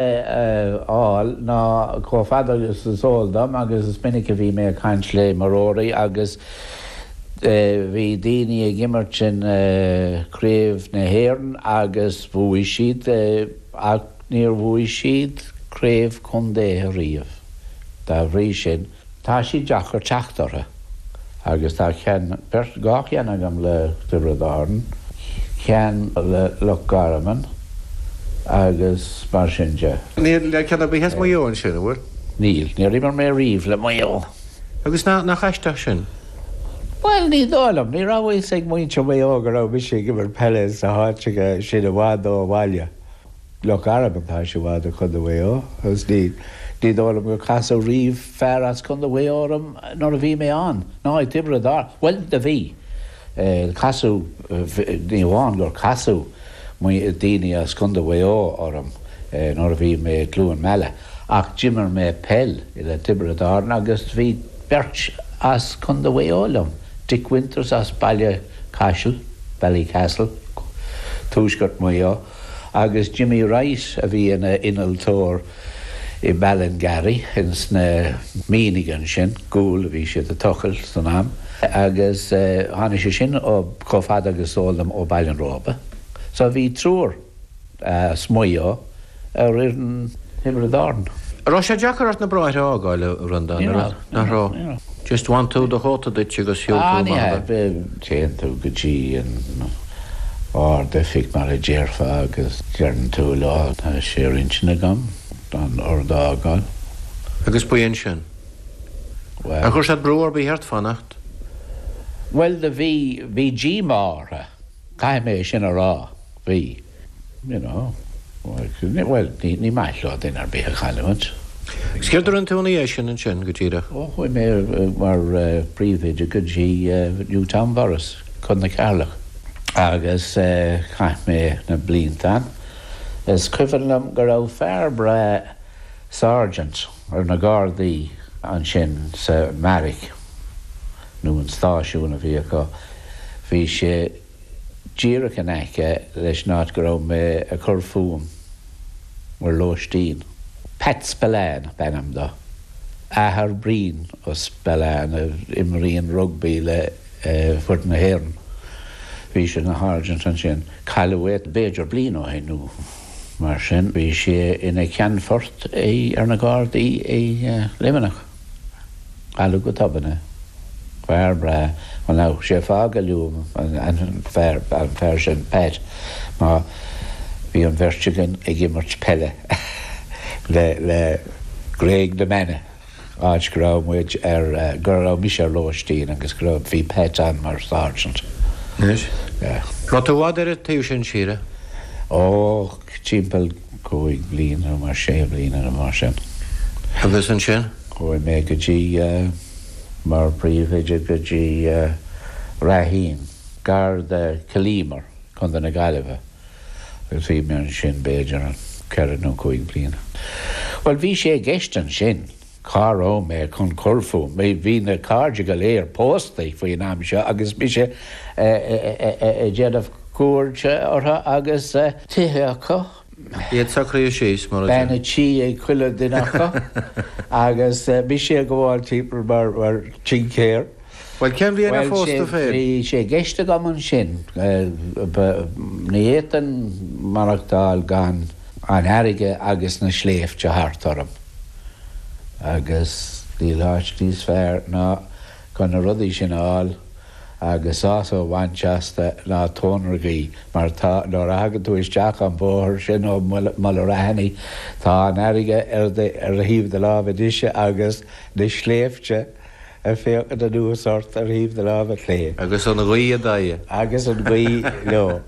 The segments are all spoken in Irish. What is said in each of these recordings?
a fháil ná chomh fada agus is eol dom agus is minic a bhí mé ag caint le imreoirí agus bhí daoine ag imirt in Craobh na hÉireann agus bhuaigh siad ach níor bhuaigh siad craobh contae riamh. Dá bhrí sin. Tá siad deacair teacht orthu agus tá ceann, beirt, 2 cheann agam le Tiobraid Árann, ceann le Loch Garman agus mar sin de. Níl ceann ar bith as Maigh Eo ansin, an bhfuil? Níl, níor imir mé riamh le Maigh Eo. Agus nach aisteach sin? Bhuel, ní dóigh liom. Ní raibh a fhios ag muintir Mhaigh Eo go raibh mise ag imirt peile sa háit sin i bhfad ó bhaile. Loch Garman, tá sé i bhfad ó Chontae Mhaigh Eo agus ní ní dóigh liom gur casadh riamh fear as Contae Mhaigh Eo orm nuair a bhí mé ann, ná i dTiobraid Árann. Bhuel, do bhí. Casadh, ní amháin gur casadh daoine as Contae Mhaigh Eo orm nuair a bhí mé i gCluain Meala ach d'imir mé peil le Tiobraid Árann agus bhí beirt as Contae Mhaigh Eo liom, Dick Winters as Baile Caisil, Ballycastle, tuaisceart Mhaigh Eo. agus Jimmy Wright a bhí ina innealtóir i Ballingarry ins na mianaigh ansin, gual a bhí siad a tochailt san am, agus tháinig sé sin ó, chomh fada agus is eol dom, ó Baile an Róba. So bhí triúr as Maigh Eo ar fhoireann Thiobraid Árann. An raibh sé deacair ort na bráithre a fhágáil, a Bhreandáin? Ní raibh. Nach raibh? Ní raibh. Just bhain tú do chóta duit agus shiúil tú amach. Ní hea. Téann tú go dtí an Ard-Oifig mar a déarfá agus deireann tú leo tá sé ar intinn agam an ord a fhágáil. Agus b'in sin. Bhuel. Ar chuir siad brú ar bith ort fanacht? Bhuel do bhí, bhí díomá orthu, caithfidh mé sin a rá, bhí. You know, bhuel, ní maith leo duine ar bith a chailliúint. Agus céard a rinne tú ina dhiaidh sin ansin, go díreach? Ó, chuaigh mé mar phríomhoide go dtí Newtownborris, Co. na Ceatharlach, agus chaith mé na blianta ann. Is cuimhin liom go raibh fear breá sergeant ar na Gardaí ansin sa mbeairic, nó an stáisiún a bhí acu. Bhí sé. díreach in aice leis an áit go raibh mé ag cur fúm mar lóistín. Pat Spillane ab ainm do. Athair Brian Spillane a imríonn rugbaí le foireann na hÉireann. Bhí sé ina sháirsint ansin. Cailleadh é b'fhéidir bliain ó shin nó mar sin. Bhí sé ina cheannfort ar na Gardaí i Luimneach. Cailleadh go tobann é. Fear breá. Bhuel now, sé fáth go luaim an fear, an fear sin, Pat, ná bhí an bheirt againn ag imirt peile le, le Gréig na Mainge, áit go raibh muid ar, go raibh mise ar lóistín agus go raibh, bhí Pat ann mar sergeant. Anois? Yeah. Raibh tú i bhfad ar an taobh sin tíre? Ó, timpeall 5 bliana nó mar, 6 bliana nó mar sin. Agus ansin? Chuaigh mé go dtí, mar phríomhoide go dtí Raheen, gar do Chill Íomair, Contae na Gaillimhe, agus bhí mé ansin b'fhéidir 4 nó 5 bliana. Bhuel, bhí sé i gceist ansin cá raibh mé chun cur fúm. Bhí na cairde go léir pósta faoin am seo agus mise ag déanamh cuairte orthu agus tithe acu. Iad socraithe síos, mar a deir. Bean a' tí ag chuile duine acu agus mise ag gabháil timpeall mar tincéir. Bhuel, cén bhliain ar phós tú féin? Bhí sé i gceist agam ansin, ní fhéadfainn maireachtáil gan an fharraige agus na sléibhte thart orm agus níl áit níos fearr ná chun na rudaí sin a fháil. agus sásamh a bhaint astu ná Tóin na Gaoithe, mar tá, nuair a thagann tú isteach an bóthar sin ó Mhullerahanny, tá an fharraige ar ar thaobh do láimhe deise agus na sléibhte ag féachaint anuas ort ar thaobh do láimhe clé. Agus an ghaoth i d'aghaidh. Agus an ghaoth leo.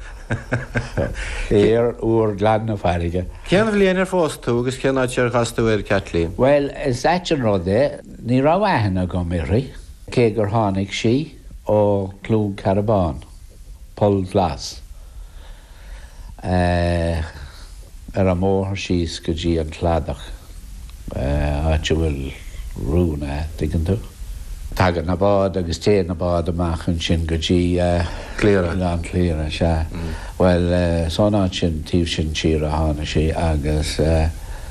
Aer úr glan na farraige. Cén bhliain ar phós tú agus cén áit ar chas tú ar Kathleen? Bhuel, is ait an rud é, ní raibh aithne agam uirthi. Cé gur tháinig sí ó Chluain Cearbán, Poll Glas, ar an mbóthar síos go dtí an cladach, áit a bhfuil Roonagh, tuigeann tú. Tagann na báid agus téann na báid amach ansin go dtí Cliara. Oileán Chliara, sea. Bhuel, is ón áit sin, taobh sin tíre a tháinig sí agus.